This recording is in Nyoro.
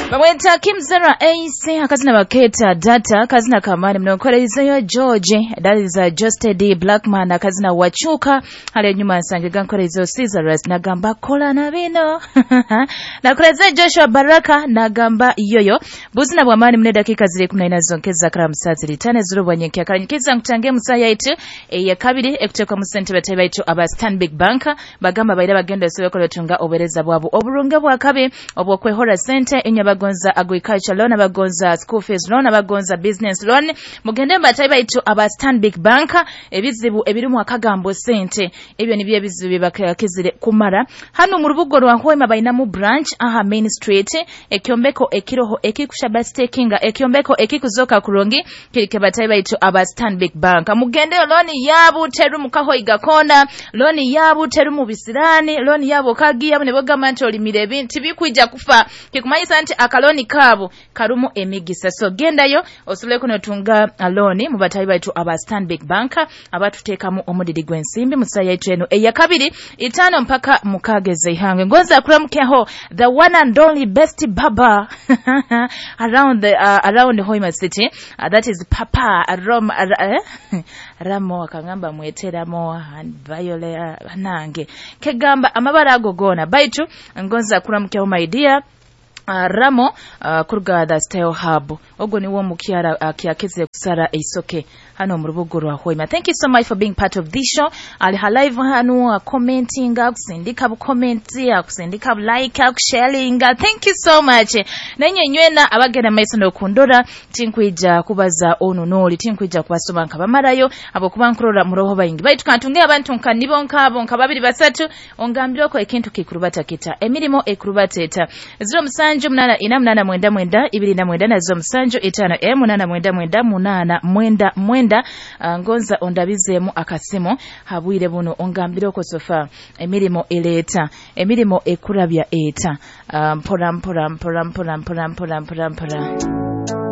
Bamweta Kim Zera Ace, akazina baketa Data, akazina kamani mnonkorezeyo George, that is Justed D Blackman, akazina Wachuka. Hali nyuma nsange gankorezeyo Caesarus nagamba kola na bino. Nakoreze Joshua Baraka nagamba yoyo. Buzina bwa mani mne dakika ziri 14 zonkeza karamu saa 5 zurubwa nyenkia karanyikiza nkutange musaya itu ya kabiri ekutekwa mu sente bateba itu aba Stanbic Bank bagamba baira bagenda sobeko batunga obereza bwabo oburunga bwa kabi obwokwehora sente inya bagonza agriculture loan, abagonza school fees loan, abagonza business loan. Mugende bateba itu aba Stanbic Bank ebizibu ebirimu akagambo sente ebyo nibyo ebizibu bakakizire kumara. Hano mu rubugo rwa Hoima bainamu branch aha Main Street, ekyombeko ekiroho ekikushaba stakinga, ekyombeko ekikuzoka kurungi kirike bateba itu aba Stanbic Bank. Mugende loan yabu teru mukaho igakona, loan yabu teru mu bisirani, loan yabo kagiya ne bogamba nti olimire ebintu bikuija kufa kikumanyisa nti akaloni kabo karumu emigisa. So gendayo osobole kunotunga loan mu batayi baitu aba Stanbic Bank abatuteekamu omudidi gw'ensimbi musaya yaitu eno eya kabiri 5 mpaka 6 zeihange. Ngonza kuramukeho the one and only best baba around the around Hoima City, that is Papa Roma Ramo akangamba mweteramo and Viola nange kegamba amabara ago gona baitu ngonza kuramukeho my dear Ramo kuruga the Style Hub ogwo niwo mukyara kyakeze kusara eisoke hano mu rubugo rwa Hoima. Thank you so much for being part of this show. Ali live hano commenting, akusindika bu comment, akusindika bu like, akusharing. Thank you so much. Nenye nywena abagenda maiso nokundora tinkwija kubaza ono noli tinkwija kubasoma nkabamarayo abo kuba nkurora muroho bayingi baitu kantunge abantu nkanibo nkabo nkababiri basatu ongambireko ekintu kikurubata kita emirimo ekurubateta 07 8 4 8 9 2 9 na 07 5 8 9 9 8 9. Ngonza ondabizemu akasimu habwire buno ongambireko sofa emirimo eleta emirimo ekurabya eta mpora mpora mpora mpora mpora mpora mpora mpora.